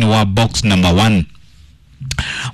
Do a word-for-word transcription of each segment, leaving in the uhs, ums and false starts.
Wa box number one,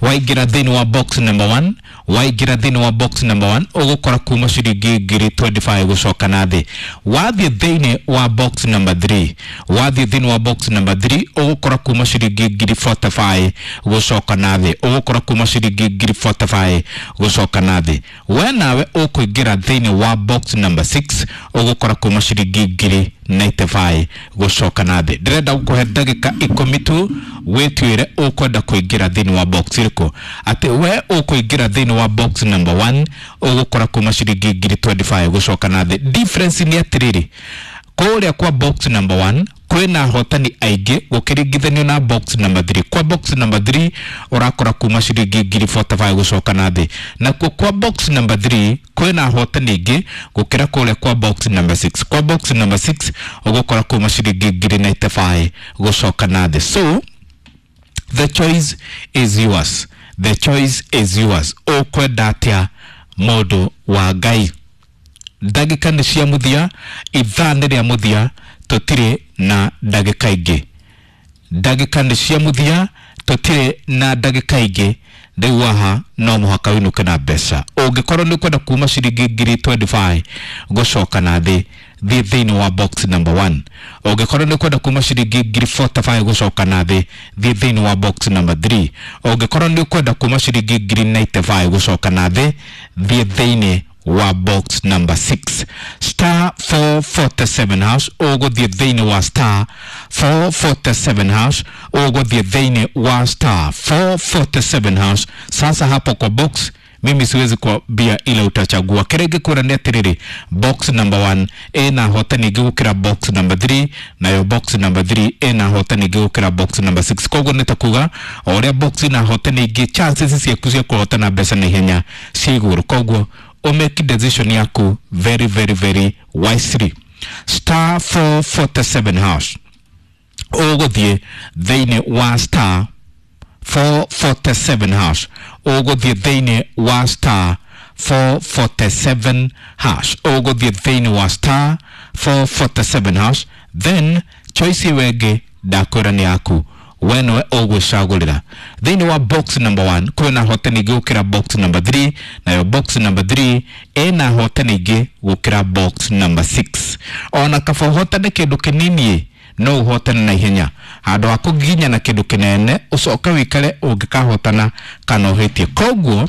waingĩra thĩinĩ wa box number one, waingĩra thĩinĩ wa box number one, ũgũkora kuma ciringi ngiri mĩrongo ĩrĩ na ithano gũcoka na thĩ. Wathiĩ thĩinĩ wa box number three, wathiĩ thĩinĩ wa box number three, ũgũkora kuma ciringi ngiri mĩrongo ĩna na ithano gũcoka na thĩ, ũgũkora kuma ciringi ngiri mĩrongo ĩna na ithano gũcoka na thĩ. We nawe ũkũingĩra thĩinĩ wa box number six, ũgũkora kuma ciringi ngiri mĩrongo ĩnana na ithano gũcoka na thĩ. Ndĩrenda gũkũhe ndagĩka ikũmi tu wĩtuĩre ũkwenda kũingĩra thĩinĩ wa box ĩrĩkũ. Atĩ we ũkũingĩra thĩinĩ wa box number one, ũgũkora kuma ciringi ngiri mĩrongo ĩrĩ na ithano gũcoka na thĩ. Difference nĩ atĩrĩrĩ, kũrĩa kwa box number one kwĩna ahotani aingĩ gũkĩringithanio na box number three. Kwa box number three ũrakora kuma ciringi ngiri mĩrongo ĩna na ithano gũcoka na thĩ, nakuo kwa box number three kwĩna ahotani aingĩ gũkĩra kũrĩa kwa box number six. Kwa box number six ũgũkora kuma ciringi ngiri mĩrongo ĩnana na ithano gũcoka na thĩ. So the choice is yours, the choice is yours. Ũkwenda atĩa, mũndũ wa Ngai? Ndagĩka nĩ cia mũthia, ithaa nĩ rĩa mũthia, tũtirĩ na ndagĩka ingĩ. Ndagĩka nĩ cia mũthia, tũtirĩ na ndagĩka ingĩ. Rĩu haha no mũhaka wĩinũke na mbeca. Ũngĩkorwo nĩ ũkwenda kuma ciringi ngiri mĩrongo ĩrĩ na ithano gũcoka na thĩ, thiĩ thĩinĩ wa box number one. Ũngĩkorwo nĩ ũkwenda kuma ciringi ngiri mĩrongo ĩna na ithano gũcoka na thĩ, thiĩ thĩinĩ wa box number three. Ũngĩkorwo nĩ ũkwenda kuma ciringi ngiri mĩrongo ĩnana na ithano gũcoka na thĩ, thiĩ thĩinĩ wa box number six. Star four forty-seven hash, ũgũthiĩ thĩinĩ wa star four forty-seven hash, ũgũthiĩ thĩinĩ wa star four forty-seven hash. Sasa hapo kwa box mimi siwezi kuambia ile utachagua. Kĩrĩa ingĩkwĩra nĩ atĩrĩrĩ, box number one ĩna hotani ingĩ gũkĩra box number three, nayo box number three ĩna hotani ingĩ gũkĩra box number six. Koguo nĩ ta kuga o ũrĩa box ina hotani ingĩ, chances ciaku cia kũhotana mbeca na ihenya ciĩ igũrũ. Koguo ũmake decision yaku very, very, very wisely. Star four forty-seven hash, ũgũthiĩ thĩinĩ wa star four forty-seven hash, ũgũthiĩ thĩinĩ wa star four forty-seven hash, ũgũthiĩ thĩinĩ wa star four forty-seven hash. Then choice ĩyo ĩngĩ ndakwĩra nĩ yaku, we nĩwe ũgwĩcagũrĩra. Thĩinĩ wa box number one kwĩna hotani ingĩ gũkĩra box number three, nayo box number three ĩna hotani ingĩ gũkĩra box number six. Ona kaba ũhotane kĩndũ kĩnini, no ũhotane na ihenya handũ ha kũginya na kĩndũ kĩnene ũcoke wĩikare ũngĩkahotana kana ũhĩtie. Koguo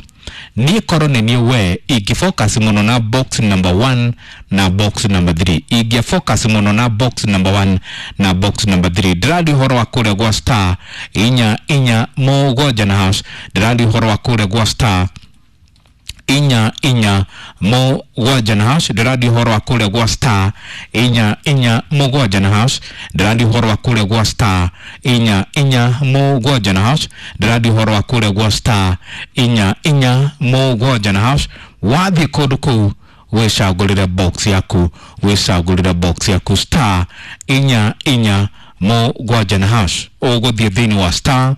niĩ korwo nĩ niĩ we, ingĩ focus mũno na box number one na box number three, ingĩa focus mũno na box number one na box number three. Ndĩraria ũhoro wa kũrĩa gwa star inya inya mũgwanja na hash. Ndĩraria ũhoro wa kũrĩa gwa star inya inya mũgwanja na hash. Ndĩraria ũhoro wa kũrĩa gwa star inya inya mũgwanja na hash. Ndĩraria ũhoro wa kũrĩa gwa star inya inya mũgwanja na hash. Ndĩraria ũhoro wa kũrĩa gwa star inya inya mũgwanja na hash. Wathiĩ kũndũ kũu wĩcagũrĩre box yaku, wĩcagũrĩre box yaku. Star inya inya mũgwanja na hash, ũgũthiĩ thĩinĩ wa star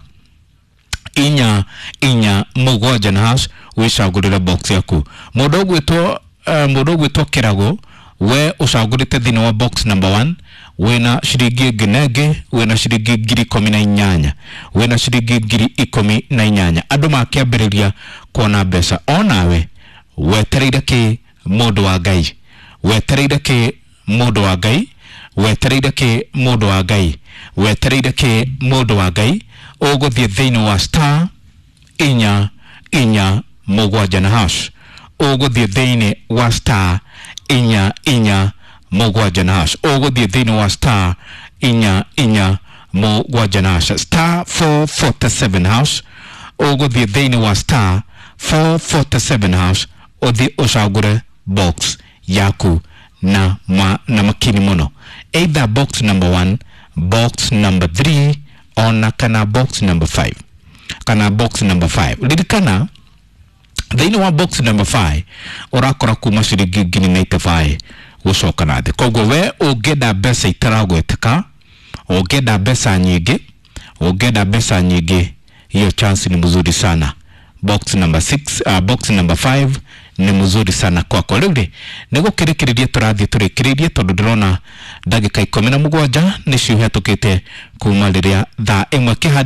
inya inya mũgwanja na hash, wĩcagũrĩre box yaku. Mũndũ ũgwĩtwo uh, mũndũ ũgwĩtwo Kĩrago, we ũcagũrĩte thĩinĩ wa box number one, wĩna ciringi ĩngĩ na ĩngĩ, wĩna ciringi ngiri ikũmi na inyanya, wĩna ciringi ngiri ikũmi na inyanya. Andũ makĩambĩrĩria kuona mbeca, onawe wetereire kĩ, mũndũ wa Ngai? Wetereire kĩ, mũndũ wa Ngai? Wetereire kĩ, mũndũ wa Ngai? Wetereire kĩ, mũndũ wa Ngai? Ũgũthiĩ thĩinĩ wa star inya inya mũgwanja na hash, ũgũthiĩ thĩinĩ wa star inya inya mũgwanja na hash, ũgũthiĩ thĩinĩ wa star inya inya mũgwanja na hash, star four forty-seven hash, ũgũthiĩ thĩinĩ wa star four forty-seven hash, ũthiĩ ũcagũre box yaku na, ma, na makini mũno, either box number one, box number three, ona kana box number five, kana box number five. Ririkana thĩinĩ wa box number five ũrakora kuma ciringi ngiri mĩrongo ĩnana na ithano gũcoka na thĩ. Koguo we ũngĩenda mbeca itaragweteka, ũngĩenda mbeca nyingĩ, ũngĩenda mbeca nyingĩ, hiyo chance ni mzuri sana. Box number six, uh, box number five. Ni mzuri sana kwakwa. Rĩu rĩ, nĩ gũkĩrĩkĩrĩria tũrathiĩ tũrĩkĩrĩirie, tondũ ndĩrona ndagĩka ikũmi na mũgwanja nĩcio ihetũkĩte kuma rĩrĩa thaa ĩmwe kĩhandi.